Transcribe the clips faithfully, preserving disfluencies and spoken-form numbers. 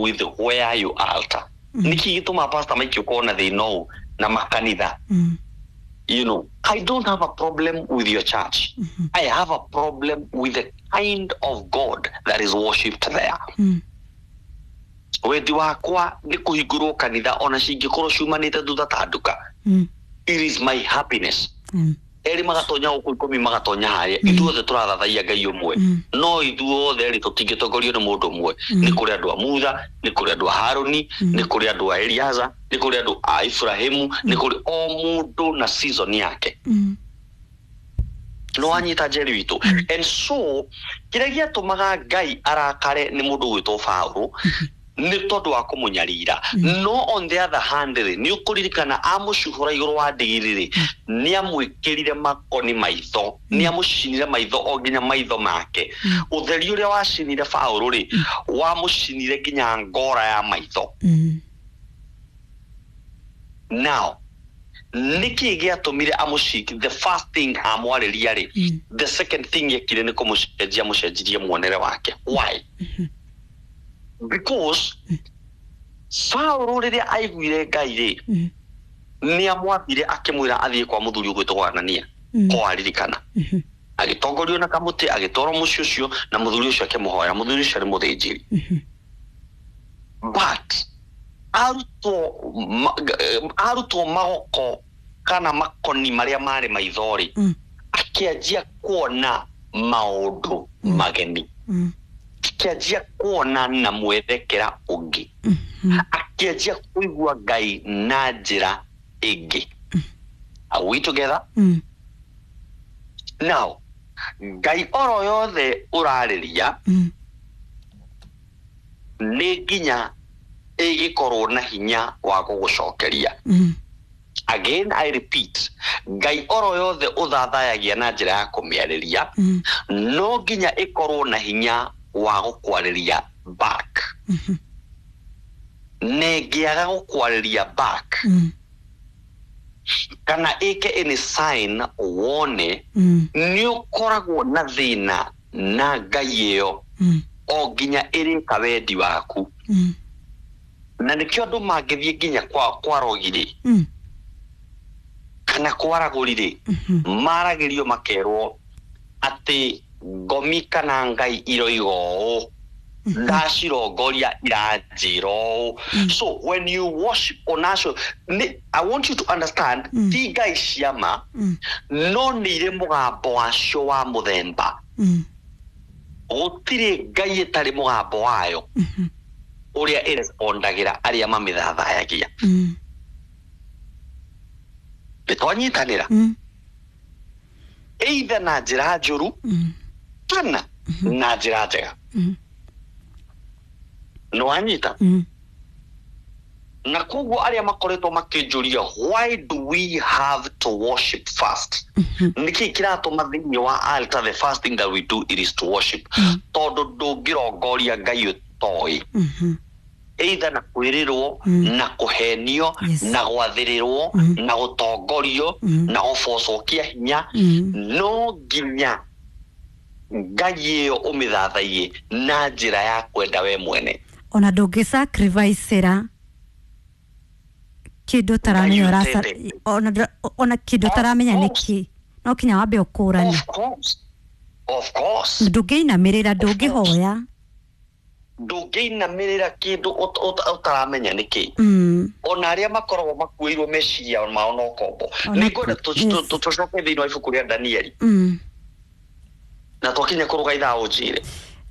with where you altar. Mm. Nĩkĩ gĩtũmaga Pastor Mike ũkorwo na thĩna ũũ na makanitha? Mm. You know, I don't have a problem with your church. Mhm. I have a problem with the kind of God that is worshipped there. Mm. Wendi wakwa nĩ kũhingũrwo kanitha ona cingĩkorwo ciumanĩte thutha ta nduka. Mm. It is my happiness. Mm. Erĩ magatonya gũkũ, ikũmi magatonya harĩa, Mm. ithuothe tũrathathaiya Ngai ũmwe. Mm. No ithuothe rĩ, tũtingĩtongorio nĩ mũndũ ũmwe. Mm. Nĩ kũrĩ andũ a Mutha, nĩ kũrĩ andũ a Harũni, Mm. nĩ kũrĩ andũ a Eliaza, nĩ kũrĩ andũ a Ibrahimu, nĩ kũrĩ o mũndũ na season yake. Mm. No wanyita, Njeri witũ? And so kĩrĩa gĩatũmaga Ngai arakare nĩ mũndũ ũgwĩtwo Paũlũ nĩ tondũ wa kũmũnyarira. No on the other hand rĩ, nĩ ũkũririkana amũcuhũra igũrũ wa ndigiri rĩ, nĩ amwĩkĩrire makoni maitho, nĩ amũcinire maitho o nginya maitho make. Ũtheri ũrĩa wacinire Paũlũ rĩ, wamũcinire nginya ngora ya maitho. Mm. Now nĩkĩ gĩatũmire amũci the first thing amwarĩria rĩ, Mm. the second thing ekire nĩ kũmũcenjia, mũcenjirie muonere wake. Why? Because Saũlũ rĩrĩa aiguire Ngai rĩ, Mm. nĩ amwathire akĩmwĩra athiĩ kwa mũthuri ũgwĩtwo Anania. Mm. Ko aririkana, Mhm. agĩtongorio na kamũtĩ, agĩtwarwo mũciĩ ũcio na mũthuri ũcio akĩmũhoya. Mũthuri ũcio arĩ mũthĩnjĩri. Mhm. But arutwo ma- eh, arutwo magoko kana makoni marĩa marĩ maitho rĩ, Mm. akĩanjia kuona maũndũ mageni, Mm. akĩanjia kuona na mwerekera ũngĩ, Mhm. akĩanjia kũigua Ngai na njĩra ĩngĩ. Are we together? Mm. Now Ngai oro yothe ũrarĩria Mm. nĩ nginya ĩgĩkorwo na hinya wa gũgũcokeria. Mm. Again I repeat, Ngai oro yothe ũthathayagia na njĩra ya kũmĩarĩria, Mm. no nginya ĩkorwo na hinya wa gũkwarĩria back. Mhm. Na ĩngĩaga gũkwarĩria back Mm. kana ĩke any sign wone, Mm. nĩ ũkoragwo na thĩna na Ngai ĩyo Mm. o nginya ĩrĩka wendi waku. Mm. Na nĩkĩo andũ mangĩthiĩ nginya kwa, kwa rogi-rĩ, Mm. kana kwaragũri-rĩ, Mhm. maragĩrio makerwo atĩ ngomi kana Ngai iroiga ũũ, ndacirongoria iranjĩra ũũ. So when you worship onacio nĩ, I want you to understand, Mm. ti Ngai ciama, Mm. no nĩ irĩ mũgambo wacio wa mũthemba. Mm. Gũtirĩ Ngai ĩtarĩ mũgambo wayo Mhm. ũrĩa ĩrespondagĩra arĩa mamĩthathayagia. Mm. Nĩ twanyitanĩra? Mm. Either na njĩra njũru Mm. kana na njĩra njega. Mm. Nĩ wanyita? Mm. Na koguo arĩa makoretwo makĩnjũria, why do we have to worship first? Mhm. Nĩkĩ kĩratũma thĩinĩ wa altar the first thing that we do, it is to worship? Mm. Tondũ ndũngĩrongoria Ngai ũtoĩ, Mhm. either na kwĩrĩrwo, Mm. na kũhenio, Yes. na gwathĩrĩrwo, Mm. na gũtongorio, Mm. na gũbocwo kĩa hinya. Mm. No nginya Ngai ĩyo ũmĩthathaiye na njĩra ya kwenda we mwene. Ona ndũngĩ sacrificera kĩndũ ũtaramenya. Ngai ũraca ũtendete. ona ndũ- ona kĩndũ ũtaramenya Of nĩkĩ, no kinya wambe ũkũrane. Of course, of course. Ndũngĩinamĩrĩra, ndũngĩhoya. Ndũngĩinamĩrĩra kĩndũ ũt- ũt- ũtaramenya nĩkĩ. Mm. Ona arĩa makoragwo makuĩirwo meciria mao na ũkombo, Ona- nĩ ngwenda tũ- yes. tũ- tũcoke thĩinĩ wa ibuku rĩa Danieli. Mm. Na twakinya kũrũga ithaa ũnjĩre.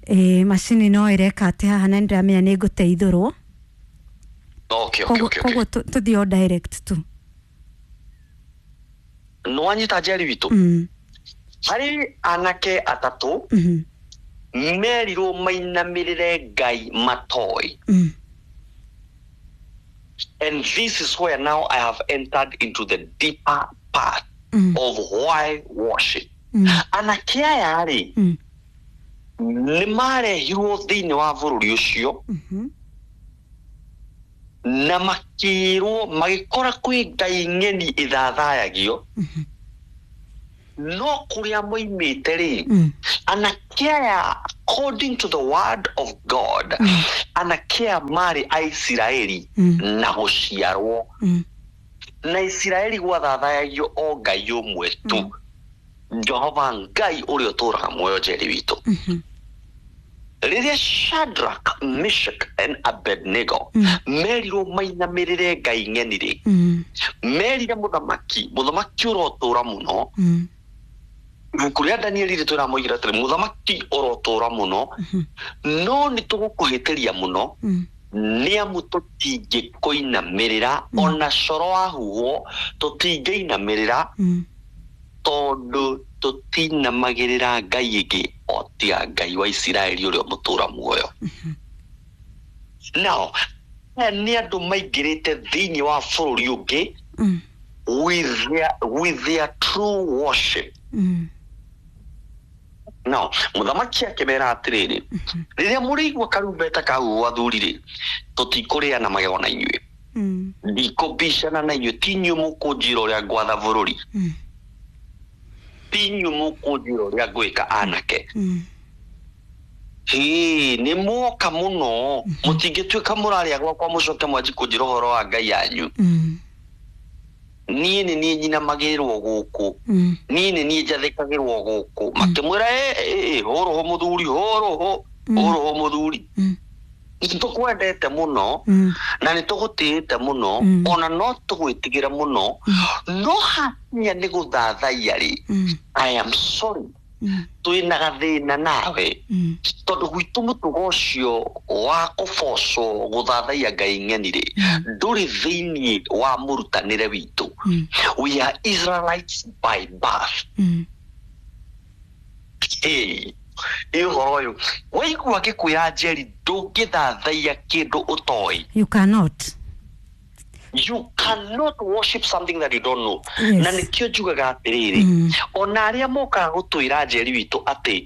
Ĩ, macini no ĩreka atĩ haha na nĩndĩramenya nĩ ngũteithũrwo. okay, okay, koguo okay, okay. Koguo tũ- tũthiĩ o direct tu. Nĩ wanyita, Njeri witũ? Mm. Harĩ anake atatũ Mhm. merirwo mainamĩrĩre Ngai matoĩ. Mm. And this is where now I have entered into the deeper part Mm. of why worship. Mm. Anake aya rĩ, Mm. nĩ marehirwo thĩinĩ wa bũrũri ũcio Mhm. na makĩrwo magĩkora kwĩ ngai ng'eni ĩthathayagio, Mhm. no kũrĩa moimĩte rĩ, Mm. anake aya According to the word of God, anake aya marĩ Aisiraeli na gũciarwo, Mm. na Isiraeli gwathathayagio o Ngai ũmwe tu, Jehova Ngai ũrĩa ũtũũraga muoyo, Njeri witũ. Mhm. Rĩrĩa Shadrach, Meshach and Abednego merirwo mainamĩrĩre ngai ng'eni rĩ, Mm. merire mũthamaki, mũthamaki ũrotũra mũno. Mm. Ibuku rĩa Danieli rĩtwĩra moigire atĩrĩ, mũthamaki ũrotũra mũno, no nĩ tũgũkũhĩtĩria mũno, Mm. nĩ amu tũtingĩkũinamĩrĩra, ona coro wahuhwo tũtingĩinamĩrĩra, Mm. tondũ tũtinamagĩrĩra ngai ĩngĩ o tiga Ngai wa Isiraeli ũrĩa mũtũra muoyo. Now aya nĩ andũ maingĩrĩte thĩinĩ wa bũrũri ũngĩ Mm. with their, with their true worship. Mm. Now mũthamaki akĩmera atĩrĩrĩ, rĩrĩa mũrĩigua karumbeta kahuhwo, athuri rĩ, tũtikũrĩa na magego na inyuĩ, Mm. ndikũbicana na inyuĩ, ti inyuĩ mũkũnjĩra ũrĩa ngwatha bũrũri, Mm. ti inyuĩ mũkũnjĩra ũrĩa ngwĩka anake. Mm. Hĩ, nĩ mwoka mũno, mũtingĩtuĩka mũrarĩa gwakwa mũcoke mwanji kũnjĩra ũhoro wa ngai yanyu. Mm. Niĩ nĩ niĩ nyinamagĩrĩrwo gũkũ, Mm. niĩ nĩ niĩ njathĩkagĩrwo gũkũ. Makĩmwĩra, "Ĩ, ĩ, ĩ, hũrũhũ mũthuri, hũrũhũ, hũrũhũ mũthuri, Mm. nĩ tũkwendete mũno Mm. na nĩ tũgũtĩĩte mũno, Mm. ona no tũgwĩtigĩra mũno, no hakinya nĩ gũthathaiya rĩ, Mm. I am sorry, Mm. twĩna gathĩna nawe, Mm. tondũ gwitũ mũtugo ũcio wa kũbocwo gũthathaiya ngai ng'eni rĩ, ndũrĩ thĩinĩ wa mũrutanĩre witũ. Mm. We are Israelites by birth." Mm. Ĩ ĩ ũhoro ũyũ waigua ngĩkwĩra, Njeri, ndũngĩthathaiya kĩndũ ũtoĩ. You cannot. You cannot worship something that you don't know. Yes. Na nĩkĩo njugaga atĩrĩrĩ, Mm. ona arĩa mokaga gũtwĩra, Njeri witũ, atĩ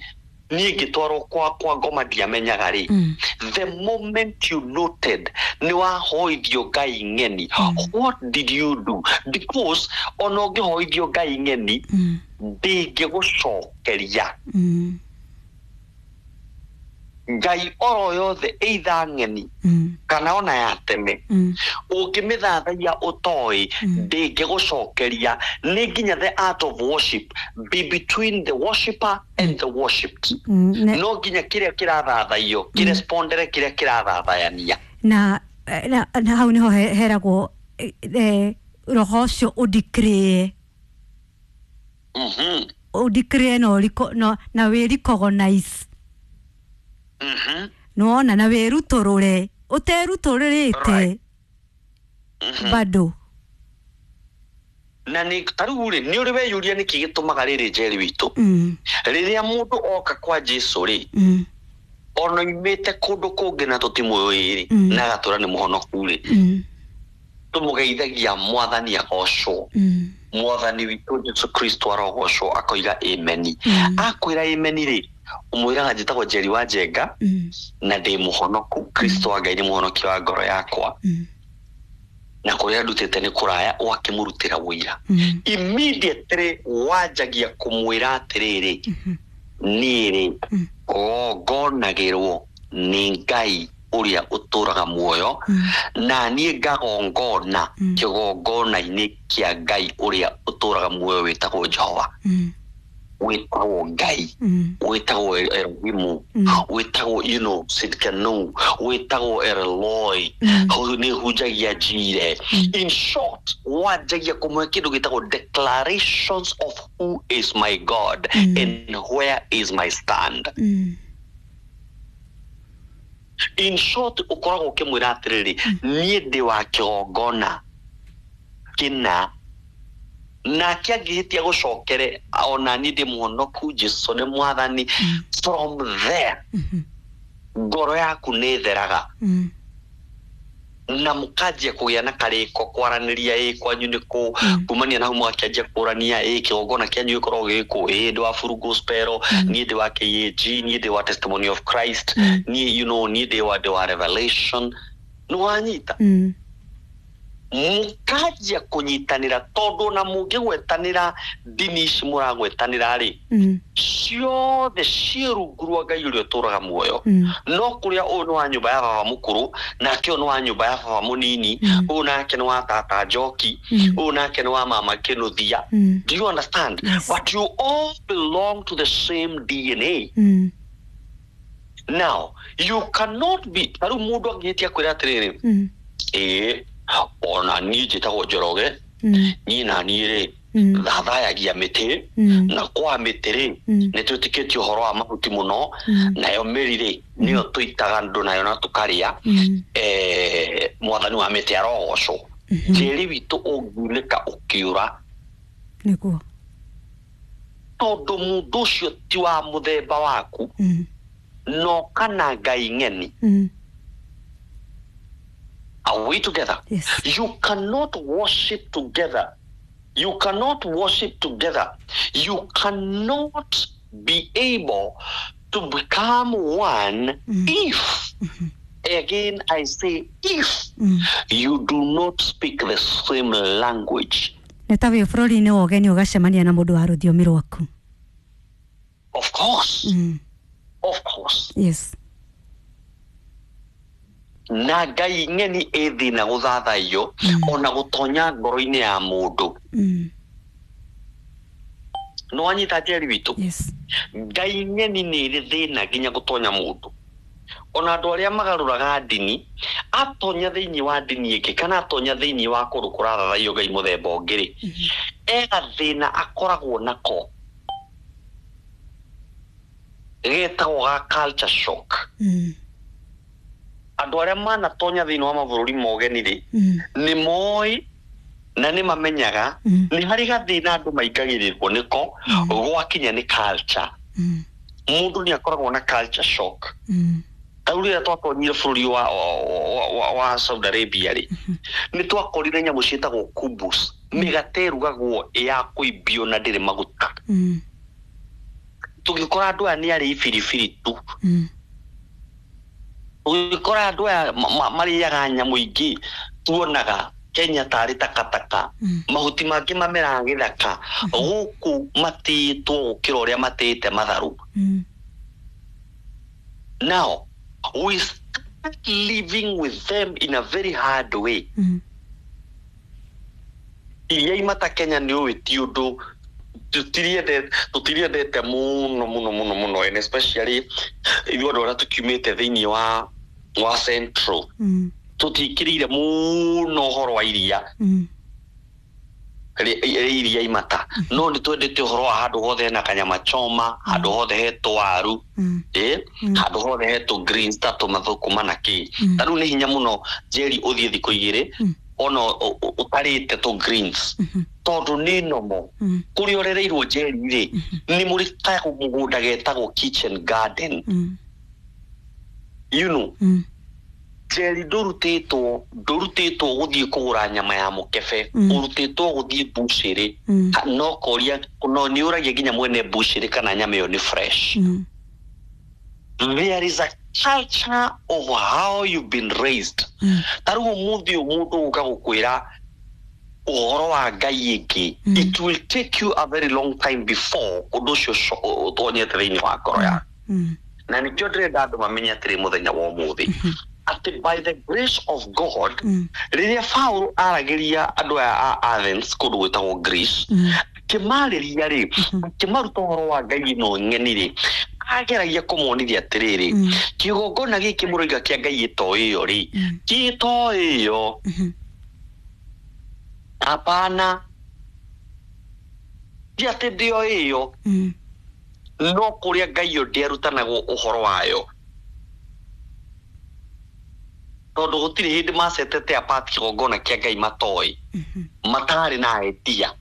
niĩ ngĩtwarwo kwa kwa ngoma ndiamenyaga rĩ, Mm. the moment you noted nĩ wahoithio ngai ng'eni, what did you do? Because ona ũngĩhoithio ngai ng'eni, Mm. ndĩngĩgũcokeria. Mm. Ngai oro yothe, either ng'eni Mm. kana ona ya tene, Mm. ũngĩmĩthathaiya ũtoĩ, ndĩngĩgũcokeria. Nĩ nginya the art of worship be between the worshipper and the worshipped. Mm. Ne- No nginya kĩrĩa kĩrathathaiyo kĩrespondere kĩrĩa kĩrathathayania. Na na, na hau niho he- heragwo eh, eh, roho ũcio ũndikĩrĩe, Mhm, ũndikĩrĩe na ũriko no, na wĩrecognize, mhm. nĩwona, na wĩrutũrũre ũterutũrĩrĩte. Right. Bado. Na nĩ ta rĩu rĩ, nĩ ũrĩ weyũria nĩkĩ gĩtũmaga rĩrĩ, Njeri witũ, mm. rĩrĩa mũndũ oka kwa Jesu rĩ, Mm. ona oimĩte kũndũ kũngĩ na tũtimũĩ rĩ, Mm. na agatũra nĩ mũhonoku rĩ, Mm. tũmũgeithagia Mwathani agocwo, Mm. Mwathani witũ Jesu Kristo arogocwo, akoiga ameni. Mm. Akwĩra ameni rĩ, ũmwĩraga, "Njĩtagwo Njeri wa Njenga Mm. na ndĩ mũhonoku, Kristo wa Ngai nĩ mũhonokia wa ngoro yakwa, Mm. na kũrĩa ndutĩte nĩ kũraya," ũgakĩmũrutĩra wũira. Mm. Immediately wanjagia kũmwĩra atĩrĩrĩ, niĩ rĩ, Mm. gongonagĩrwo nĩ Ngai ũrĩa ũtũraga muoyo, Mm. na niĩ ngagongona Mm. kĩgongona-inĩ kĩa Ngai ũrĩa ũtũraga muoyo wĩtagwo Jehova, Mm. wĩtagwo Ngai, Mm. wĩtagwo Elohimu, Mm. wĩtagwo you know Sidkanu, wĩtagwo Eloi, Mm. nĩ hunjagia njire. In short, wanjagia kũmũhe kĩndũ gĩtagwo declarations of who is my God Mm. and where is my stand. Mm. In short, ũkoragwo ũkĩmwĩra atĩrĩrĩ, niĩ ndĩ wa kĩgongona kĩna, nake angĩhĩtia gũcokere, ona niĩ ndĩ mũhonoku, Jesu nĩ Mwathani. From there, Mhm. ngoro yaku nĩ ĩtheraga, Mm. na mũkanjia kũgĩa na karĩko kwaranĩria, ĩ kwanyu nĩ kũ, Mm. kumania na hau mũgakĩanjia kũrania, ĩ kĩgongona kĩanyu gĩkoragwo gĩkũ, ĩ ndĩ wa Full Gospel, niĩ ndĩ wa K A G, niĩ ndĩ wa Testimony of Christ, Mm. niĩ you know niĩ ndĩ wa ndĩ wa Revelation, nĩ wanyita? Mm. Mũkanjia kũnyitanĩra tondũ na mũngĩgwetanĩra ndini ici mũragwetanĩra rĩ, Mm. ciothe ciĩ rungu rwa Ngai ũrĩa ũtũraga muoyo. Mm. No kũrĩa ũyũ nĩ wa nyũmba ya baba mũkũrũ, nake ũyũ nĩ wa nyũmba ya baba mũnini, Mm. ũyũ nake nĩ wa tata Njoki, Mm. ũyũ nake nĩ wa mama Kĩnũthia. Mm. Do you understand? Yes. But you all belong to the same D N A. Mm. Now, you cannot be ta rĩu mũndũ angĩhĩtia kwĩra atĩrĩrĩ, Mm. ĩĩ ona niĩ njĩtagwo Njoroge, Mm. niĩ na niĩ rĩ Mm. thathayagia mĩtĩ, Mm. na kwa mĩtĩ rĩ Mm. nĩ twĩtĩkĩtie ũhoro wa mahuti mũno, Mm. nayo mĩri rĩ nĩyo tũitaga andũ nayo na tũkarĩa. Mm. Eh, mwathani wa mĩtĩ arogocwo. Mhm. Tĩri witũ ũngiunĩka ũkĩũra, Nĩguo. tondũ mũndũ ũcio ti wa mũthemba waku, Mm. no kana Ngai ng'eni. Mm. Are we together? Yes. You cannot worship together. You cannot worship together. You cannot be able to become one Mm. if, again I say, if Mm. you do not speak the same language. Nĩ ta wĩ bũrũri-inĩ wa ũgeni ũgacemania na mũndũ wa rũthiomi rwaku. Of course. Mm. Of course. Yes. Na Ngai ng'eni ĩ thĩna gũthathaiyo, Mm. ona gũtonya ngoro-inĩ ya mũndũ. Mm. No wanyita Njeri witũ? Yes. Ngai ng'eni nĩ ĩrĩ thĩna nginya gũtonya mũndũ. Ona andũ arĩa magarũraga ndini, atonya thĩinĩ wa ndini ĩngĩ kana atonya thĩinĩ wa kũndũ kũrathathaiyo Ngai mũthemba ũngĩ rĩ, e gathĩna akoragwo nako getagwo ga culture shock. Mm. Andũ arĩa manatonya thĩinĩ wa mabũrũri ma ũgeni rĩ, Mm. nĩ moĩ na nĩ mamenyaga Mm. nĩ harĩ gathĩna andũ maingagĩrĩrwo nĩko Mm. gwakinya nĩ culture. Mm. Mũndũ nĩ akoragwo na culture shock. Mm. Ta rĩu rĩrĩa twatonyire bũrũri wa, wa, wa, wa Saudi Arabia rĩ, nĩ twakorire nyamũ ciĩtagwo kubus, mĩgate ĩrugagwo ya kũimbio na ndĩrĩ maguta. Mm. Tũgĩkora andũ aya nĩ arĩi biribiri tu. Mm. Ũgĩkora andũ aya marĩaga nyamũ ingĩ tuonaga Kenya tarĩ takataka, Mm. mahuti mangĩ mameraga gĩthaka, gũkũ matĩĩtwo gũkĩra ũrĩa matĩĩte matharũ. Mm. Now we start living with them in a very hard way. Mm. Iria imata Kenya nĩ ũĩ ti ũndũ tũtiriendete, tũtiriendete mũno mũno mũno mũno, and especially ithuĩ andũ arĩa tũkiumĩte thĩinĩ wa wa Central, Mm. tũtikĩrĩire mũno ũhoro wa iria, Mm. rĩ iria imata, no nĩ twendete ũhoro wa handũ hothe hena kanyama choma, handũ hothe he twaru, Mm. ĩ Mm. handũ hothe he tũ greens ta tũmathũkũma na kĩ. Mm. Ta rĩu nĩ hinya mũno Njeri ũthiĩ thikũ igĩrĩ Mm. ona ũtarĩte tũ greens, Mhm. tondũ nĩ nomo. Mm. Kũrĩa ũrereirwo Njeri rĩ, nĩ mũrĩ kamũgũnda getagwo kitchen garden. Mm. You know, Mm. Njeri ndũrutĩtwo, ndũrutĩtwo gũthiĩ kũgũra nyama ya mũkebe, Mm. ũrutĩtwo gũthiĩ mbucĩrĩ. Mm. Ha, no koria, no nĩ ũragia nginya mwene mbucĩrĩ kana nyama ĩyo nĩ fresh. Mm. There is a culture of how you've been raised. Mm. Ta rĩu ũmũthĩ ũyũ mũndũ ũka gũkwĩra ũhoro wa Ngai ĩngĩ, Mm. it will take you a very long time before ũndũ ũcio ũco-, ũtonyete thĩinĩ wa ngoro yaku. Mm. Na nĩkĩo ndĩrenda andũ mamenye atĩrĩ mũthenya wa ũmũthĩ, atĩ by the grace of God, Mm. rĩrĩa Paul aragĩria andũ aya a Athens kũndũ gwĩtagwo Greece, Mm. akĩmarĩria rĩ, akĩmaruta ũhoro wa Ngai ĩno ng'eni rĩ, ageragia kũmonithia atĩrĩrĩ, Mm. kĩgongona gĩkĩ mũroiga kĩa Ngai ĩto ĩyo rĩ, Mm. ti ĩto ĩyo. Mhm. Hapana, ti atĩ ndĩo ĩyo, Mm. no kũrĩa Ngai ĩyo ndĩarutanagwo ũhoro wayo, tondũ gũtirĩ hĩndĩ macetete apart kĩgongona kĩa Ngai matoĩ, Mhm. matarĩ na idea.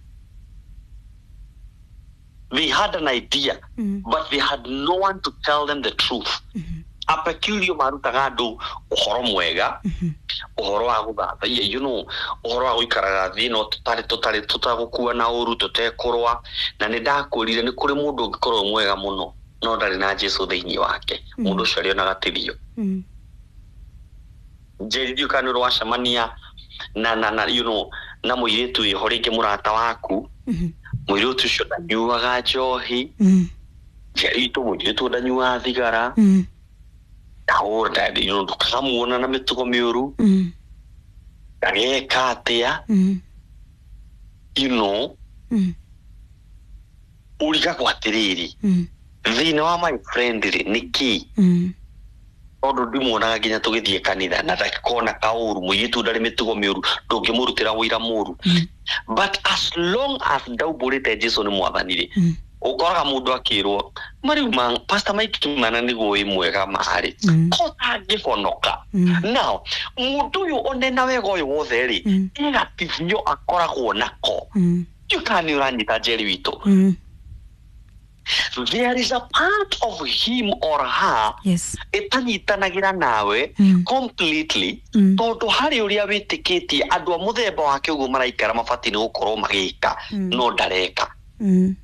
They had an idea, Mm. but they had no one to tell them the truth. Mhm. A peculiar marutaga andũ ũhoro mwega, Mhm. ũhoro wa gũthathaiya, you know, ũhoro wa gũikaraga thĩ no tũtarĩ, tũtarĩ, tũtagũkua na ũru, tũtekũrũa. Na nĩ ndakwĩrire nĩ kũrĩ mũndũ ũngĩkorwo mwega mũno no ndarĩ na Jesũ thĩinĩ wake, Mm. mũndũ ũcio arĩonaga tithio. Mm. Njeri, ndiũ kana nĩ ũracemania na na na you know na mũirĩtu wĩho rĩngĩ mũrata waku, Mhm. mũirĩtu ũcio ndanyuaga njohi. Mm. Njeri itũ, mũirĩtu ndanyuaga thigara. Mm. Ndahũra, you know ndũkamuona na mĩtugo mĩũru. Mm. Ndageka atĩa. Mm. you know Mm. Ũrigagwo atĩrĩrĩ, Mm. thĩna wa my friend rĩ nĩ kĩ? Mm. Tondũ ndimuonaga nginya tũgĩthiĩ kanitha na ndakona kaũru, mũirĩtu ndarĩ mĩtugo mĩũru, ndũngĩmũrutĩra wĩira mũru. Mm. But as long as ndaumbũrĩte Jesu nĩ mwathani rĩ, Mm. ũkoraga mũndũ akĩrwo mariu ma Pastor Mike Kimana nĩguo wĩ mwega marĩ Mm. ko tangĩhonoka. Mm. Now mũndũ ũyũ onena wega ũyũ wothe rĩ, Mm. he gatithio akoragwo nako. Mm. Ndiũ kana nĩ ũranyita, Njeri witũ. Mm. There is a part of him or her Yes. ĩtanyitanagĩra nawe Mm. completely, Mm. tondũ harĩ ũrĩa wĩtĩkĩtie andũ a mũthemba wake ũguo maraikara mabatiĩ nĩ gũkorwo magĩka, Mm. no ndareka. Mm.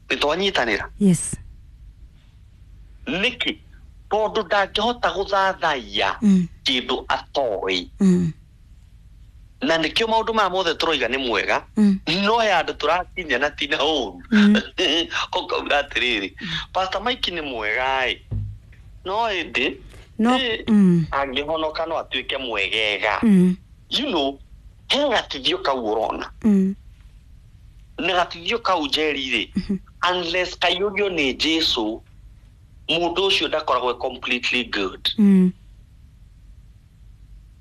Nĩ twanyitanĩra? Yes. Nĩkĩ? Tondũ ndangĩhota gũthathaiya Mm. kĩndũ atoĩ. Mm. Na nĩkĩo maũndũ maya mothe tũroiga nĩ mwega, Mm. no he andũ tũrakinya na tina ũru. Mm. Ũkauga atĩrĩrĩ, Pastor Mike nĩ mwega ĩ, no ĩndĩ No. ĩ, Mm. angĩhonoka no atuĩke mwegega. Mm. you know he gatithio kau ũrona. Mm. Na gatithio kau, Njeri rĩ, unless kaiyũrio nĩ Jesu, mũndũ ũcio ndakoragwo e completely good. Mm.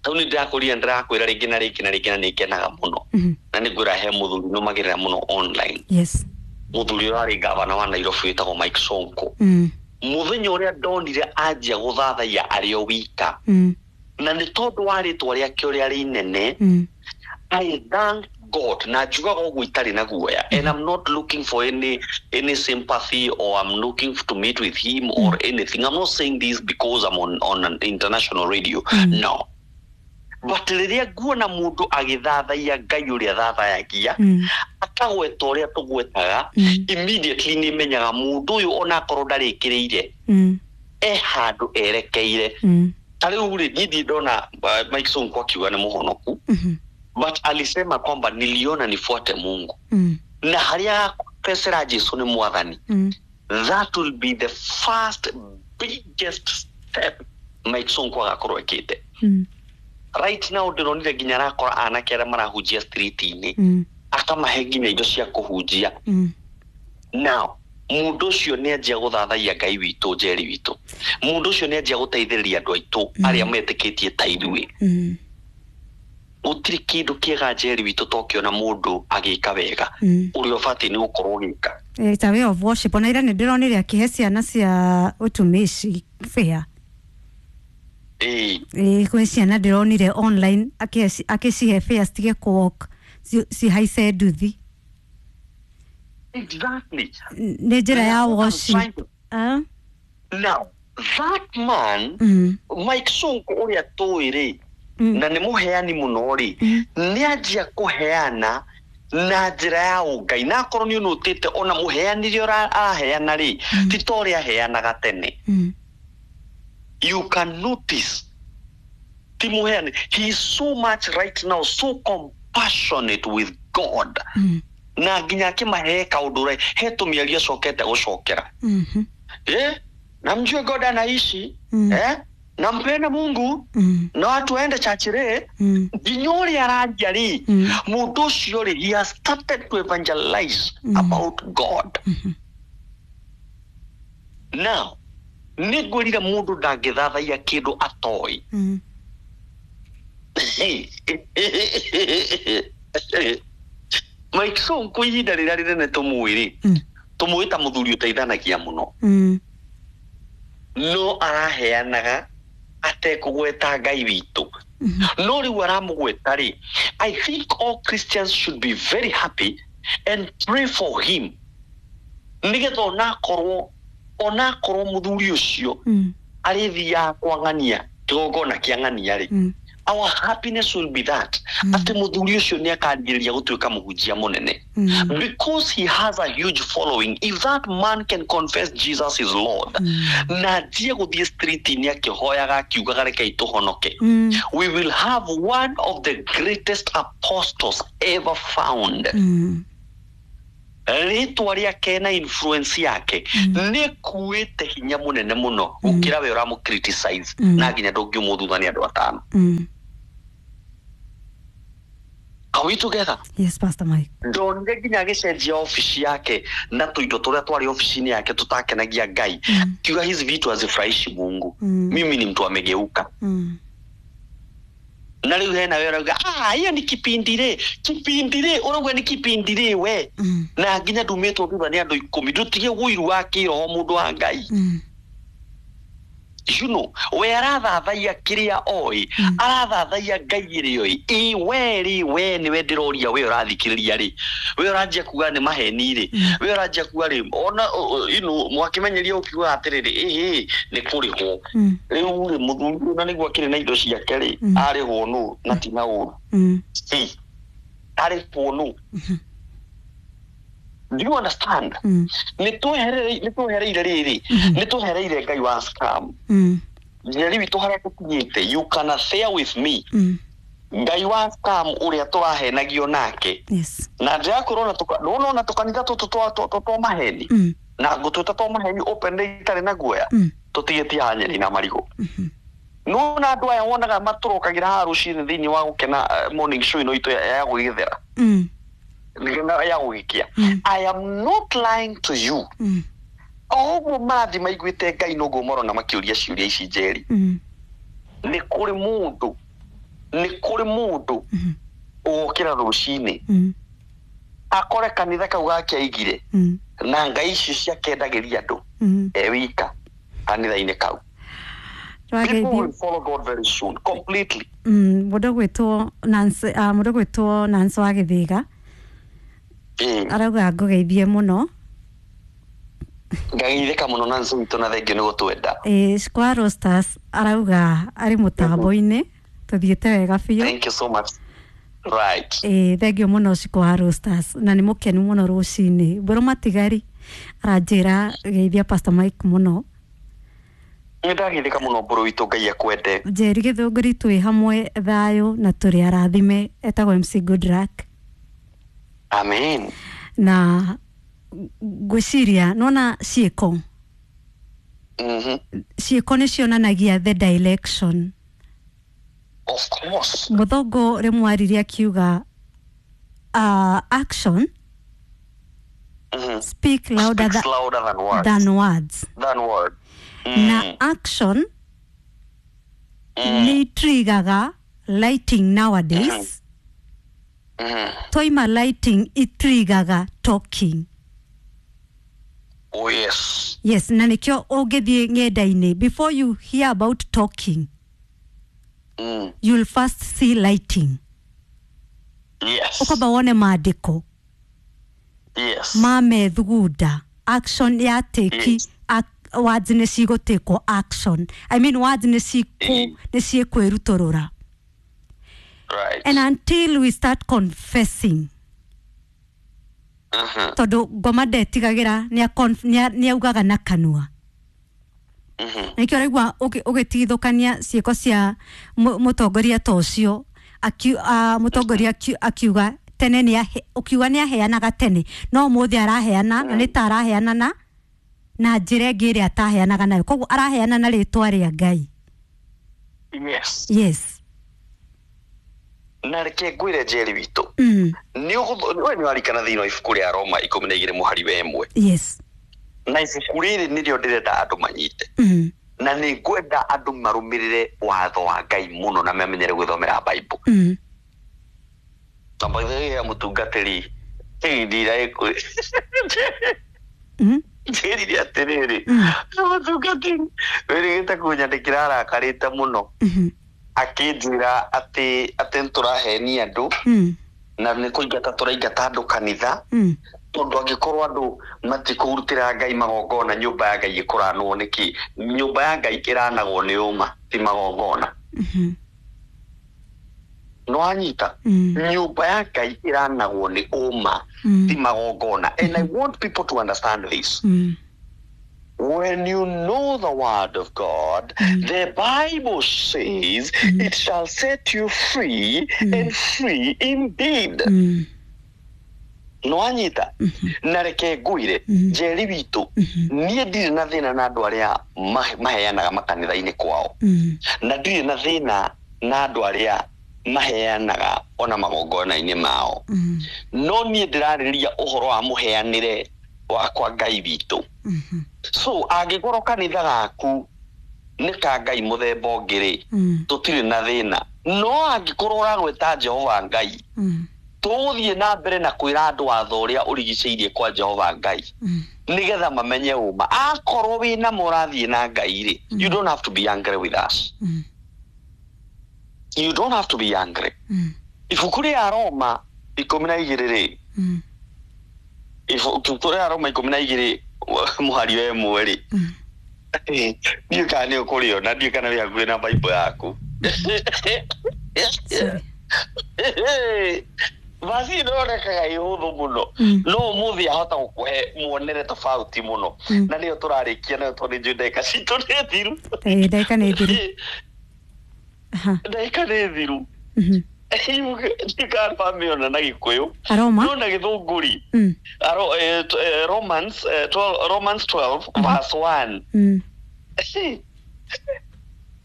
Tau nĩ ndĩrakũria, ndĩrakwĩra rĩngĩ na rĩngĩ na rĩngĩ, na nĩ ngenaga mũno. Mm. Na nĩ ngwĩra he mũthuri nũmagĩrĩra mũno online. Yes. Mũthuri ũrarĩ gavana wa Nairobi wĩtagwo Mike Sonko. Mm. Mũthenya ũrĩa ndonire anjia gũthathaiya arĩ o wika, Mm. na nĩ tondũ wa rĩtwa rĩake ũrĩa rĩnene, Mm. I thank God, na njugaga ũguo itarĩ na guoya, and I'm not looking for any any sympathy or I'm looking to meet with him or anything. I'm not saying this because I'm on, on an international radio. Mm. No, but rĩrĩa nguona mũndũ agĩthathaiya Ngai ũrĩa thathayagia, Mm. akagweta ũrĩa tũgwetaga, Mm. immediately nĩ menyaga mũndũ ũyũ onakorwo ndarĩkĩrĩire, Mm. e handũ erekeire. Mm. Ta rĩu rĩ, niĩ ndirĩ ndona uh, Mike Sonko akiuga nĩ mũhonoku, Mhm. but alisema kwamba niliona nifuate Mungu, Mm. na harĩa agakũbecera Jesu nĩ mwathani, Mm. that will be the first biggest step Mike Sonko agakorwo ekĩte. Mm. Right now ndĩronire nginya arakora anake arĩa marahunjia street-inĩ, Mm. akamahe nginya indo cia kũhunjia. Mm. Now mũndũ ũcio nĩ anjia gũthathaiya Ngai witũ, Njeri witũ. Mũndũ ũcio nĩ anjia gũteithĩrĩria andũ aitũ arĩa metĩkĩtie ta ithuĩ. Mm. Gũtirĩ kĩndũ kĩega, Njeri witũ, tokĩona mũndũ agĩka wega Mm. ũrĩa ũbatiĩ nĩ gũkorwo ũgĩka. It's a way of worship. Ona ira nĩ ndĩronire akĩhe ciana cia ũtumishi fare. Ĩĩ. Ĩĩ, kwĩ ciana ndĩronire online akĩhe- akĩcihe fare citige kũwalk, cihaice nduthi. Exactly. Nĩ njĩra ya That's what I'm worship. trying to- Ah? Now that man, Mm. Mike Sonko ũrĩa tũĩ rĩ, Mm. na nĩ mũheani mũno rĩ, Mm. nĩ anjia kũheana na njĩra ya ũngai, na akorwo nĩ ũnũtĩte ona mũheanire ũrĩa araheana rĩ, ti ta ũrĩa aheanaga tene. Mm. You can notice ti mũheani, he is so much right now, so compassionate with God, Mm. na nginya akĩmahe kaũndũ rĩ, he tũmĩario acokete gũcokera. Mhm. Eh, na mjue God anaishi. Mm. Eh, na mpende Mungu, Mm. na watu waende chachire. Mm. Nginya ũrĩa aranjia rĩ, Mm. mũndũ ũcio rĩ, he has started to evangelize Mm. about God. Mhm. Now nĩ ngwĩrire mũndũ ndangĩthathaiya kĩndũ atoĩ. Mm. Mike Sonko ihinda rĩrĩa rĩnene tũmũĩ rĩ, Mm. tũmũĩ ta mũthuri ũteithanagia mũno, Mm. no araheanaga atekũgweta Ngai witũ. Mhm. No rĩu aramũgweta rĩ, I think all Christians should be very happy and pray for him, nĩgetha onakorwo onakorwo mũthuri ũcio Mm. arĩthiaga kwa ng'ania, kĩgongona kĩa ng'ania rĩ, Mm. Our happiness will be that atĩ mũthuri ũcio nĩ akanjĩrĩria gũtuĩka mũhunjia mũnene, Mm. because he has a huge following. If that man can confess Jesus is Lord na anjie gũthiĩ street-inĩ akĩhoyaga akiugaga rekei tũhonoke, Mm. we will have one of the greatest apostles ever found. Mm. Rĩtwa rĩake na influence yake nĩ kuĩte hinya mũnene mũno gũkĩra we ũramũ criticize, Mm. na nginya ndũngiumwo thutha nĩ andũ atano. Mm. Are we together? Yes, Pastor Mike. Ndonire nginya agĩcenjia ofici yake na tũindo tũrĩa twarĩ ofici-inĩ yake tũtakenagia Ngai, Mm. kiuga hizi vitu hazifurahishi Mungu. Mm. Mimi ni mtu amegeuka. Mm. Na rĩu hena we ũrauga, "Ah, hiyo ni kipindi rĩ, kipindi rĩ," ũrauga ni kipindi rĩ we, Mm. na nginya ndumĩtwo thutha nĩ andũ ikũmi. Ndũtige ũiru wa kĩroho, mũndũ wa Ngai. Mm. you know we arathathaiya kĩrĩa oĩ, arathathaiya Ngai ĩrĩa oĩ. Ĩ we rĩ, we nĩwe ndĩroria, we ũrathikĩrĩria rĩ, we ũranjia kuga nĩ maheni rĩ, we ũranjia kuga rĩ, ona you know mwakĩmenyeria ũkiuga atĩrĩrĩ, ĩhĩ nĩ kũrĩhwo. Mm. Rĩu rĩ, mũthuri ũyũ na nĩguo akĩrĩ na indo ciake rĩ, Mm. arĩhwo nũ na ti na ũru? Mm. See, arĩhwo nũ? Do you understand? Mm. nĩ twehereire nĩ twehereire rĩrĩ, nĩ twehereire Ngai wa scam. Mm. Njeri witũ, harĩa tũkinyĩte, you can share with me, Mm. Ngai wa scam ũrĩa tũrahenagio nake Yes. na njĩra ya kũrona nona tũkanitha tũtũ twa- twa twa- twa maheni, Mm. na ngũtwĩta twa maheni openly itarĩ na guoya. Mm. Tũtigĩtie haha nyeni na marigũ. Nona andũ aya wonaga matũrokagĩra haha rũcinĩ thĩinĩ wa gũkena, eh, morning show ĩno itũ ya ya gũgĩthera, Mm. ya gũgĩkia. Mm. I am not lying to you. Mm. O ũguo marathi maiguĩte Ngai noguo marona makĩũria ciũria ici, Njeri. Mm. Nĩ kũrĩ mũndũ nĩ kũrĩ mũndũ Mhm. ũgũkĩra rũcinĩ Mm. akore kanitha kau gake aigire Mm. na ngai icio ciakendagĩria andũ Mm. e wika kanitha-inĩ kau? People Twageithio. will follow God very soon completely. Mm, mũndũ gwĩtwo Nancy, ah, mũndũ gwĩtwo Nancy wa Gĩthĩga Ĩĩ. arauga ngũgeithie mũno. Ngageithĩka mũno na nĩ witũ, na thengio nĩ gũtwenda. Ĩ, Square Roasters arauga arĩ mũtambo-inĩ, tũthiĩte wega biũ. Thank you so much, right. Ĩ, thengio mũno Square Roasters, na nĩ mũkenu mũno rũcinĩ. Mbũrũ matigari aranjĩra geithia Pastor Mike mũno. Nĩ ndageithĩka mũno, mbũrũ witũ, Ngai akwende. Njeri Gĩthũngũri twĩ hamwe thayũ na tũrĩ arathime, etagwo M C Goodluck. Amen. Na ngwĩciria nona ciĩko, Mhm. ciĩko nĩ cionanagia the direction. Of course. Mũthũngũ rĩmwe aririe akiuga, uh, action Mhm. speak louder, Speaks tha louder than words. Than words. Than word. Mm. Na action Mm. nĩ trigaga lighting nowadays. Mhm. Twaima lighting, itrigaga talking. Oh yes. Yes, na nĩkĩo ũngĩthiĩ ng'enda-inĩ, before you hear about talking, Mm. you'll first see lighting. Yes. Ũkwamba wone maandĩko Yes. ma methugunda action ya teki. Yes. Ac- words nĩ cigũtĩkwo action, I mean, words nĩ cikũ Mm. nĩ ciĩkwĩrutũrũra. Right. And until we start confessing, Mhm. tondũ ngoma ndetigagĩra, nĩ augaga na kanua. Mhm. Nĩkĩo ũraigua ũgĩ- ũgĩtigithũkania ciĩko cia mũ- mũtongoria ta ũcio, akiu- ah, mũtongoria akiu- akiuga tene nĩ ahe- ũkiuga nĩ aheanaga tene, no ũmũthĩ araheana na nĩ ta araheana na na njĩra ĩngĩ ĩrĩa ataheanaga nayo, koguo araheana na rĩtwa rĩa Ngai. Yes. Yes. Na reke ngwĩre, Njeri witũ, mm. nĩ ũgũtho- we nĩ warikana thĩinĩ wa ibuku rĩa Roma ikũmi na igĩrĩ mũhari wa ĩmwe? Yes. Na ibuku rĩrĩ nĩrĩo ndĩrenda andũ manyite, mm. na nĩ ngwenda andũ marũmĩrĩre watho wa Ngai mũno na mamenyere gwĩthomera Bible. Mm. Na by the way, ya mũtungatĩri ndira Mm. njĩrire atĩrĩrĩ, Mm. mũtungatĩri wĩrĩgĩte kũnyandĩkĩra arakarĩte mũno, Mhm. akĩnjĩra atĩ atĩ nĩtũrahenia andũ Mm. na nĩ kũingata tũraingata andũ kanitha, Mm. tondũ angĩkorwo andũ matikũrutĩra Ngai magongona, nyũmba ya Ngai ĩkũranwo nĩkĩ? Nyũmba ya Ngai ĩranagwo nĩ ũma, ti magongona. Mhm. No anyita Mm. nyũmba ya Ngai ĩranagwo nĩ ũma, Mm. ti magongona. And I want people to understand this. Mm. When you know the word of God, the Bible says it shall set you free, and free indeed. Mm. No anyita na reke ngwire, Njeri witũ, niĩ ndirĩ na thĩna na andũ arĩa ma- maheanaga makanitha-inĩ kwao, Mm. na ndirĩ na thĩna na andũ arĩa maheanaga ona magongona-inĩ mao, Mm. no niĩ ndĩrarĩrĩria ũhoro wa mũheanĩre wakwa Ngai witũ. Mhm. So angĩkorwo kanitha gaku nĩ ka Ngai mũthemba ũngĩ rĩ, Mm. tũtirĩ na thĩna, no angĩkorwo ũragwĩta Jehova Ngai, Mm. tũgũthiĩ na mbere na kwĩra andũ watho ũrĩa ũrigicĩirie kwa Jehova Ngai, Mm. nĩgetha mamenye ũma. Akorwo wĩna mũrathiĩ na Ngai rĩ, you don't have to be angry with us. Mm. You don't have to be angry. Mm. Ibuku rĩa Roma ikũmi na igĩrĩ rĩ, Mm. ibuku rĩa Roma ikũmi na igĩrĩ mũhari wa ĩmwe rĩ, Mm. ndiũĩ kana nĩ ũkũrĩona, ndiũĩ kana wĩ hakuhĩ na Bible yaku. Sorry. Basi ĩronekaga ĩ hũthũ mũno, Mm. no ũmũthĩ ahota gũkũhe muonere tofauti mũno, Mm. na nĩyo tũrarĩkia nayo tondũ nĩnjũĩ ndagĩka citũ nĩ thiru. Eh, ndagĩka nĩ thiru. Aha. Ndagĩka nĩ thiru. Mhm. Ndiũĩ kana wamĩona na Gĩkũyũ, Aroma. no na Gĩthũngũri, Mm. Aro, eh, t- eh, Romans, eh, twelve, Romans twelve verse one. Mm.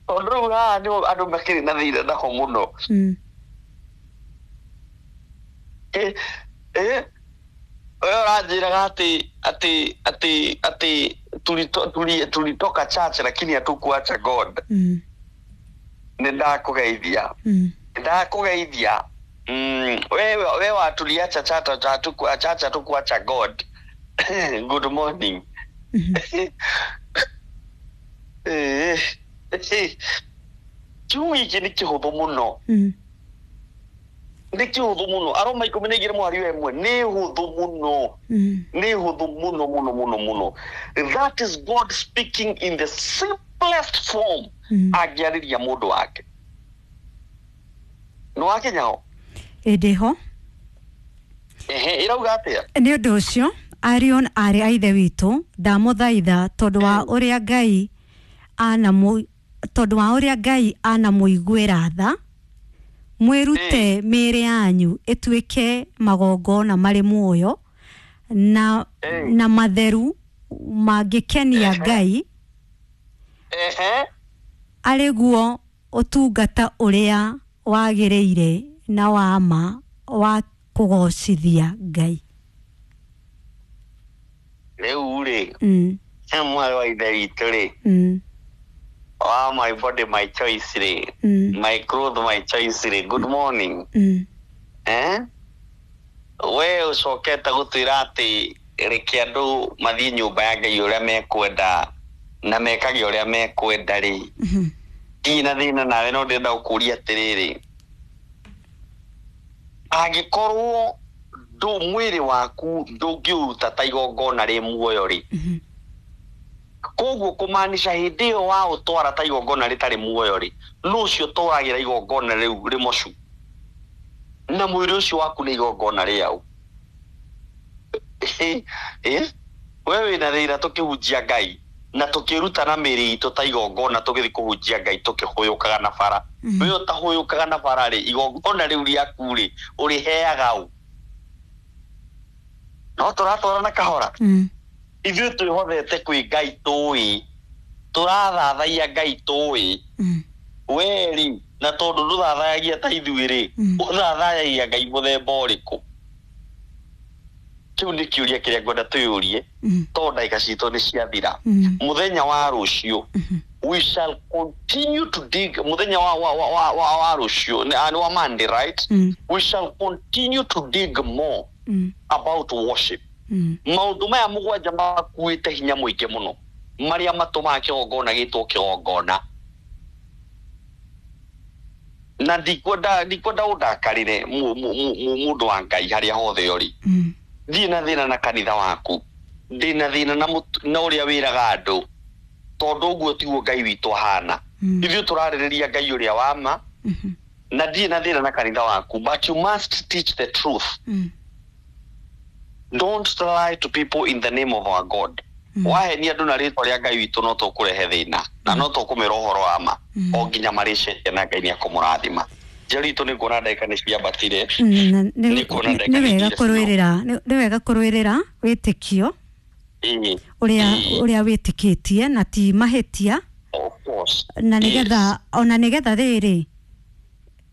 Tondũ rĩu haha nĩho andũ makĩrĩ na thĩna naho mũno. Mm. Eh, eh, we ũranjĩraga atĩ atĩ atĩ atĩ tulito- tuli- tulitoka church lakini hatukuacha God. Mm. Nĩ ndakũgeithia. Mm. Ndakũgeithia. Mm, we we wa tuliacha chata hatuku- church, hatukuacha God. Good morning. Mhm. Eh, eh, kiugo gĩkĩ nĩ kĩhũthũ mũno. Mm. Nĩ kĩhũthũ mũno. Aroma ikũmi na igĩrĩ mũhari wa ĩmwe nĩ hũthũ mũno. Mm. Nĩ hũthũ mũno mũno mũno mũno. That is God speaking in the simplest form Mm. angĩarĩria mũndũ wake. Nĩ wakinya ho? Ĩ, ndĩho. Ehe, ĩrauga atĩa? Nĩ ũndũ ũcio, ariũ na aarĩ a Ithe witũ, ndamũthaitha tondũ wa ũrĩa Ngai anamũ tondũ wa ũrĩa Ngai anamũiguĩra tha, mwĩrute mĩĩrĩ yanyu ĩtuĩke magongona marĩ muoyo na, Mm. na matheru mangĩkenia Ngai, Ehe. arĩ guo ũtungata ũrĩa wagĩrĩire na wa ma wa kũgocithia Ngai. Rĩu rĩ, Mm, mwarĩ wa Ithe witũ rĩ, mm, wa my body my choice rĩ, mm, my clothes my choice rĩ, good morning. mm, Eh? We ũcokete gũtwĩra atĩ reke andũ mathiĩ nyũmba ya Ngai ũrĩa mekwenda na mekage ũrĩa mekwenda rĩ, mhm, ndirĩ na thĩna nawe, no ndĩrenda gũkũria atĩrĩrĩ, angĩkorwo ndũ mwĩrĩ waku ndũngĩũruta ta igongona rĩ muoyo rĩ, mhm, koguo kũmaanisha hĩndĩ ĩyo waũtwara ta igongona rĩtarĩ muoyo rĩ, nũ ũcio ũtwaragĩra igongona rĩu rĩmocu, na mwĩrĩ ũcio waku nĩ igongona rĩau? Eh? We wĩna thĩna tũkĩhunjia Ngai na tũkĩruta na mĩĩrĩ itũ ta igongona, tũgĩthiĩ kũhunjia Ngai tũkĩhũyũkaga na bara. Mhm. We ũtahũyũkaga na bara rĩ, igongona rĩu rĩaku rĩ, ũrĩheaga ũ? No tũratwarana kahora. Mm, Ithuĩ twĩhothete kwĩ Ngai, tũĩ tũrathathaiya Ngai, tũĩ mm, we rĩ, na tondũ ndũthathayagia ta ithuĩ rĩ, Mm. ũthathayagia Ngai mũthemba ũrĩkũ? Kĩu nĩ kĩũria kĩrĩa ngwenda twĩyũrie, mm, tondũ ndagĩka citũ nĩ ciathira. mm, Mũthenya wa rũciũ mhm, we shall continue to dig. Mũthenya wa wa wa wa, wa, wa rũciũ nĩ nĩ wa Monday, right? Mm. We shall continue to dig more mm, about worship. mm, Maũndũ maya mũgwanja makuĩte hinya mũingĩ mũno, marĩa matũmaga kĩgongona gĩtwo kĩgongona, na ndikwenda ndikwenda ũndakarĩre, mu- mu- mu- mu- mũndũ wa Ngai harĩa hothe ũrĩ. Mm, Ndirĩ na thĩna na kanitha waku, ndĩ na thĩna na mũtu- na ũrĩa wĩraga andũ, tondũ ũguo tiguo Ngai witũ ahana. Mm. Ithuĩ tũrarĩrĩria Ngai ũrĩa wa ma. Mhm, Na ndirĩ na thĩna na kanitha waku, but you must teach the truth. Mm. Don't lie to people in the name of our God. Mm. Wahenia andũ na rĩtwa rĩa Ngai witũ, no tũkũrehe thĩna na no tũkũmĩra ũhoro wa ma Mm. o nginya marĩcenjia, na Ngai nĩ akũmũrathima. Njeri itũ, nĩ nguona ndagĩka nĩ ciambatire. Mm, na- nĩ Nĩ kuona ndagĩka nĩ wega nĩ kũrũĩrĩra, nĩ nĩ wega kũrũĩrĩra wĩtĩkio Ĩĩ. ũrĩa Ĩĩ. ũrĩa wĩtĩkĩtie, na ti mahĩtia. Of course. Na nĩgetha ona nĩgetha rĩrĩ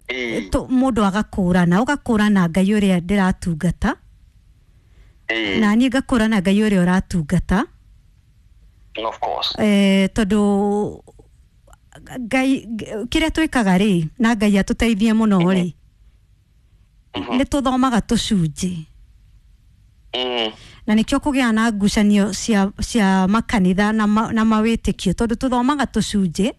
Ĩĩ. tũ- mũndũ agakũrana, ũgakũrana Ngai ũrĩa ndĩratungata Ĩĩ. na niĩ ngakũrana Ngai ũrĩa ũratungata. Of course. eh, tondũ Ngai, kĩrĩa twĩkaga rĩ, na Ngai atũteithie mũno rĩ, Mhm. nĩ tũthomaga tũcunjĩ Mm. na nĩkĩo kũgĩa na ngucanio cia, cia makanitha na, ma, na mawĩtĩkio, tondũ tũthomaga tũcunjĩ,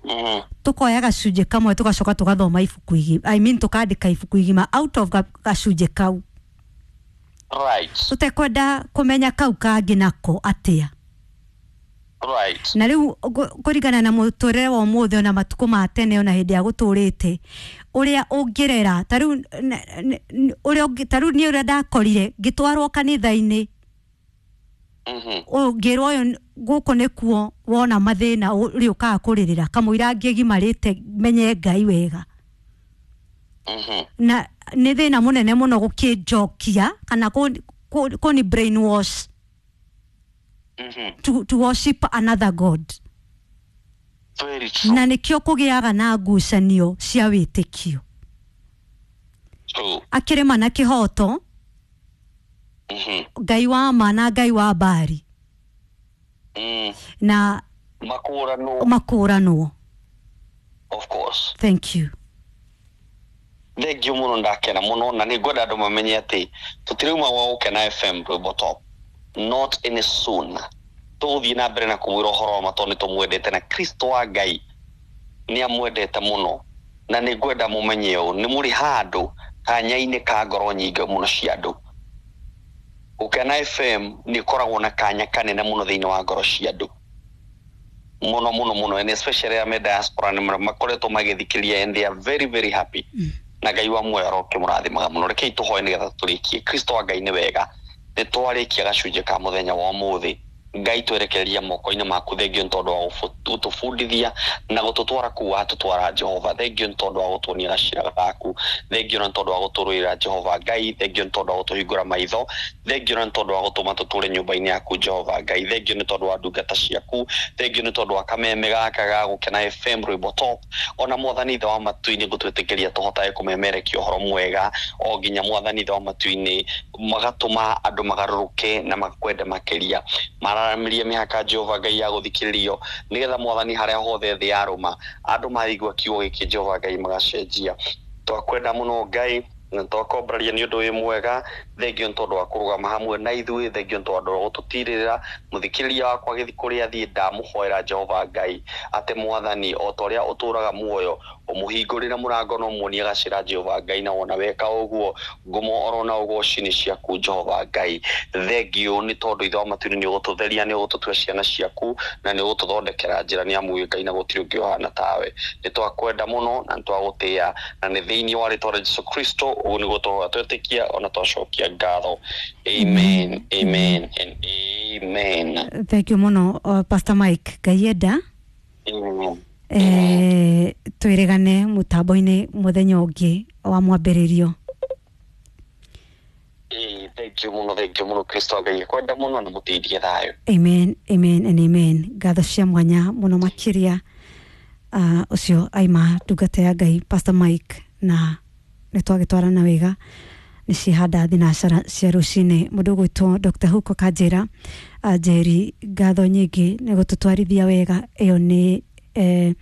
Mm. tukoya gacunjĩ kamwe, tugacoka tugathoma ibuku igima, I mean, tukandĩka ibuku igima out of ga- gacunjĩ kau, Right. tũtekwenda kũmenya kau kangĩ nako atĩa. Right. Na rĩu ngũ- kũringana na mũtũrĩre wa ũmũthĩ, ona matukũ ma tene, ona hĩndĩ ya gũtũrĩte ũrĩa ũngĩrera, ta rĩu n- n- n- ũrĩa ũngĩ- ta rĩu niĩ ũrĩa ndakorire ngĩtwarwo kanitha-inĩ, Mhm. ũngĩrwo ũyũ n- gũkũ nĩkuo wona mathĩna ũrĩũkaga kũrĩrĩra kamũira ngĩgimarĩte menye Ngai wega. Mhm. Na nĩ thĩna mũnene mũno gũkĩnjokia kana kũ- kũ- kũni brainwash Mhm. to, to worship another god. Very true. Na nĩkĩo kũgĩaga na ngucanio cia wĩtĩkio. True. Akĩrĩma na kĩhoto, Mhm. Ngai wa ma na Ngai wa mbari Mm. na Makũranwo. makũranwo. Of course. Thank you. Thengiũ mũno, ndakena mũno, na nĩ ngwenda andũ mamenye atĩ tũtirauma gwa Gũkena F M rwĩmbo top, not any soon. Tũgũthiĩ na mbere na kũmwĩra ũhoro wa ma tondũ nĩ tũmwendete, na Kristo wa Ngai nĩ amwendete mũno. Na nĩ ngwenda mũmenye ũũ, nĩ mũrĩ handũ kanya-inĩ ka ngoro nyingĩ mũno cia andũ. Gũkena F M nĩ ĩkoragwo na kanya kanene mũno thĩinĩ wa ngoro cia andũ, mũno mũno mũno, and especially arĩa me diaspora nĩ makoretwo magĩthikĩrĩria and they are very very happy. Mm. Na Ngai wa muoyo arokĩmũrathimaga mũno. Rekei tũhoe nĩgetha tũrĩkie. Kristo wa Ngai, nĩ wega, nĩ twarĩkia gacunjĩ ka mũthenya wa ũmũthĩ. Ngai, twerekereria moko-inĩ maku. Thengio nĩ tondũ wa gũbu- gũtũbundithia na gũtũtwara kũu watũtwara, Jehova. Thengio nĩ tondũ wa gũtuonia gacĩra gaku. Thengio nĩ tondũ wa gũtũrũĩra, Jehova Ngai. Thengio nĩ tondũ wa gũtũhingũra maitho. Thengio nĩ tondũ wa gũtũma tũtũre nyũmba-inĩ yaku, Jehova Ngai. Thengio nĩ tondũ wa ndungata ciaku. Thengio nĩ tondũ wa kameme gaka ga Gũkena F M rwĩmbo top. Ona Mwathani Ithe wa matu-inĩ, gũtwĩtĩkĩria tũhotage kũmemerekia ũhoro mwega o nginya, Mwathani Ithe wa matu-inĩ, magatũma andũ magarũrũke na makwende makĩria, mararamĩrie mĩhaka, Jehova Ngai, ya gũthikĩrĩrio, nĩgetha Mwathani, harĩa hothe thĩ yarũma, andũ maigua kiugo gĩkĩ, Jehova Ngai, magacenjia. Twakwenda mũno, Ngai, na twakombraria nĩ ũndũ wĩ mwega. Thengio nĩ tondũ wa kũrũgama hamwe na ithuĩ. Thengio nĩ tondũ wa gũtũtirĩrĩra. Mũthikĩrĩria wakwa agĩthiĩ kũrĩa athiĩ, ndamũhoera, Jehova Ngai, atĩ Mwathani, o ta ũrĩa ũtũraga muoyo, ũmũhingũrĩre mũrango na ũmuonie gacĩra, Jehova Ngai. Na wona weka ũguo, ngumo orona ũgoci nĩ ciaku, Jehova Ngai. Thengio nĩ tondũ Ithe wa matu-inĩ, nĩ ũgũtũtheria, nĩ ũgũtũtua ciana ciaku, na nĩ ũgũtũthondekera njĩra, nĩ amu wĩ Ngai na gũtirĩ ũngĩ ũhana tawe. Nĩ twakwenda mũno na nĩ twagũtĩĩa, na nĩ thĩinĩ wa rĩtwa rĩa Jesu Kristo ũguo nĩguo tũhoya, twetĩkia, ona twacokia ngatho. Amen, amen and amen. Thank you mũno, uh, Pastor Mike. Ngai enda, Amen. eh, twĩrĩgane mũtambo-inĩ mũthenya ũngĩ wa mwambĩrĩrio. Ĩĩ, thank you mũno, thank you mũno. Kristo Ngai akwenda mũno na mũteithie thayũ. Amen, amen and amen. Ngatho cia mwanya mũno makĩria. uh, ũcio aima ndungata ya Ngai Pastor Mike, na nĩ twagĩtwarana wega, nĩ cihanda thinacara cia rũcinĩ. Mũndũ ũgwĩtwo Doctor Huko Kanjĩra, uh, Njeri, ngatho nyingĩ nĩ gũtũtwarithia wega. Ĩyo nĩ eh,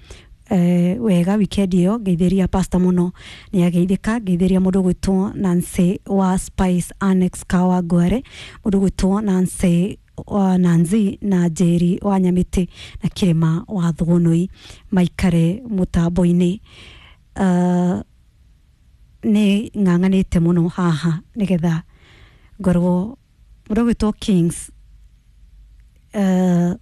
eh, wega weekend ĩyo. Ngeithĩria pastor mũno, nĩ ageithĩka. Ngeithĩria mũndũ ũgwĩtwo Nancy wa Spice Annex Kawa Ngware, mũndũ ũgwĩtwo Nancy wa Nanzi na Njeri wa Nyamĩtĩ na Kĩrĩma wa Thũgũnũi, maikare mũtambo-inĩ. uh, nĩ ng'ang'anĩte mũno haha nĩgetha ngorwo mũndũ ũgwĩtwo Kings, uh,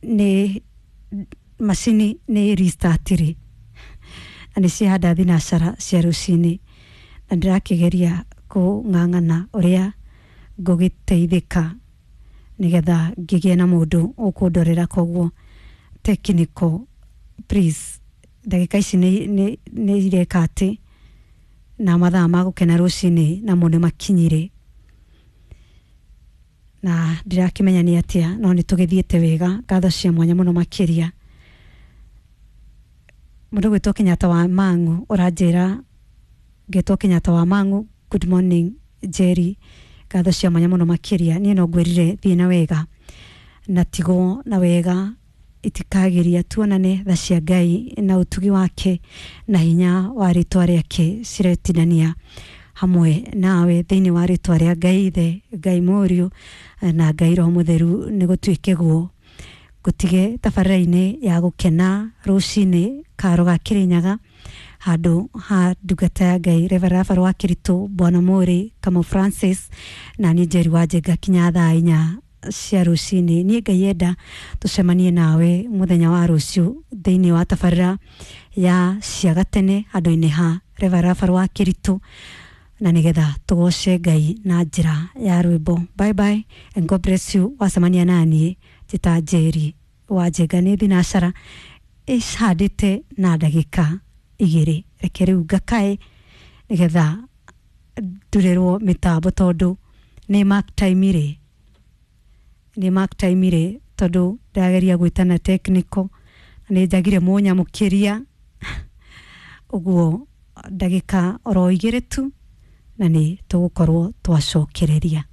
nĩ macini nĩ restartire na nĩ ciahanda thinacara cia rũcinĩ na ndĩrakĩgeria kũng'ang'ana ũrĩa ngũgĩteithĩka nĩgetha ngĩgĩe na mũndũ ũkũndorera. Koguo technical, please, ndagĩka ici nĩ nĩ- nĩ ireka atĩ na mathaa ma gũkena rũcinĩ namo nĩ makinyire na ndirakĩmenya nĩ atĩa, no nĩ tũgĩthiĩte wega. Ngatho cia mwanya mũno makĩria mũndũ gwĩtwo Kenyatta wa Mang'u ũranjĩra ngetwo Kenyatta wa Mang'u. Good morning, Jerry, ngatho cia mwanya mũno makĩria. Niĩ no ngwĩrire thiĩ na wega na tigwo na wega itikagiria tuonane. Tha cia Ngai na ũtugi wake na hinya wa rĩtwa rĩake ciretinania hamwe nawe thĩinĩ wa rĩtwa rĩa Ngai Ithe, Ngai Mũriũ na Ngai Roho Mũtheru. Nĩ gũtuĩke guo ngũtige tabarĩra-inĩ ya gũkena rũcinĩ karo ga Kĩrĩnyaga handũ ha ndungata ya Ngai Reverend Rafael wa Kĩritũ, Bwana Mũrĩ Kamau Francis na niĩ Njeri wa Njenga kinya thaa inya cia rũcinĩ. Niĩ Ngai enda tũcemanie nawe mũthenya wa rũciũ thĩinĩ wa tabarĩra ya cia gatene handũ-inĩ ha Reverend Rafael wa Kĩritũ na nigetha tũgoce Ngai na njĩra ya rwĩmbo. Bye bye and God bless you. Wacemania naniĩ njĩta Njeri wa Njenga. Nĩ thinacara ĩcandĩte na ndagĩka igĩrĩ, reke rĩu ngakae nĩgetha ndurĩrwo mĩtambo tondũ nĩ mark time rĩ, nĩ mark time rĩ, tondũ ndageria gwĩtana technical na nĩ njagire mũnyamũkĩria. Ũguo ndagĩka oro igĩrĩ tu na nĩ tũgũkorwo twacokereria.